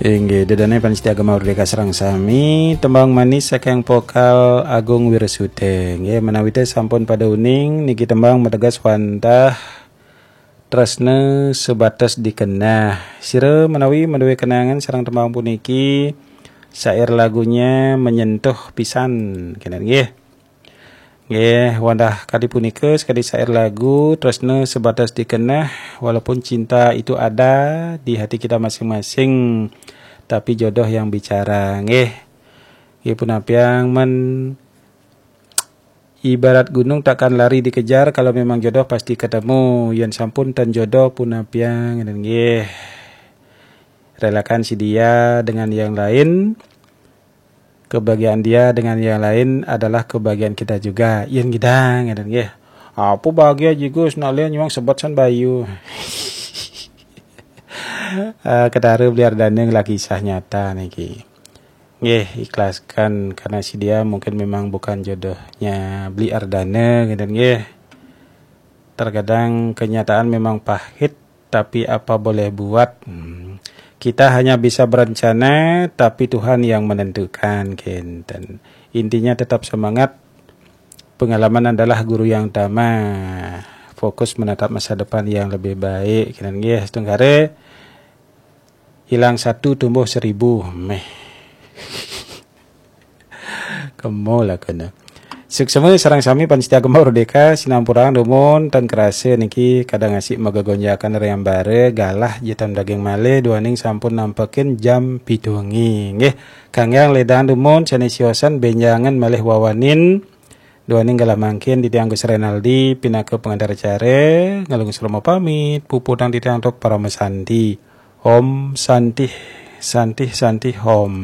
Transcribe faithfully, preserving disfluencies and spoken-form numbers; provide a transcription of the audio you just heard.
Inggih, ida dané pamiarsa Gema Merdeka sareng sami, tembang manis saking vokal Agung Wirasuta. Inggih, menawi té sampun pada uning, niki tembang mateges wantah tresna sebatas dikenah. Sira menawi madué kenangan sareng tembang puniki, syair lagunya menyentuh pisan, kénten nggih. Nggih, wantah kadi punika sekadi syair lagu, tresna sebatas dikenah, walaupun cinta itu ada di hati kita masing-masing, tapi jodoh yang bicara. Nggih. Nggih, punapiang men ibarat gunung takkan lari dikejar, kalau memang jodoh pasti ketemu. Yén sampun ten jodoh punapiang, nggih. Relakan si dia dengan yang lain, kebahagiaan dia dengan yang lain adalah kebahagiaan kita juga. Yén ngidang, ngéten nggih. Apa bahagia jigus nak lian nyuang sebat san bayu. Eh, Ketara Beli Ardana ngelah kisah nyata niki. Nggih, ikhlaskan karena si dia mungkin memang bukan jodohnya Beli Ardana, ngéten nggih. Terkadang kenyataan memang pahit, tapi apa boleh buat. Hmm. Kita hanya bisa berencana, tapi Tuhan yang menentukan, kénten. Intinya tetap semangat. Pengalaman adalah guru yang utama. Fokus menatap masa depan yang lebih baik. Kénten nggih, setungkare hilang satu tumbuh seribu. Méh. Kemo lah kena. Suksma sareng sami pamiarsa Gema Merdeka, sinampurang dumun ten kerasa niki kadang asik megegonjakan rayambara, galah jitam daging malih duaning sampun nampekin jam pitu wengi. Nggih, kangge ledang dumun sané siosan benjangan malih wawanin duaning galah mangkin titiang Gus Renaldi pinaka pengantar acara, ngalung selama pamit, puputang titiang tok parama santi. Om Santih, Santih, Santih Om.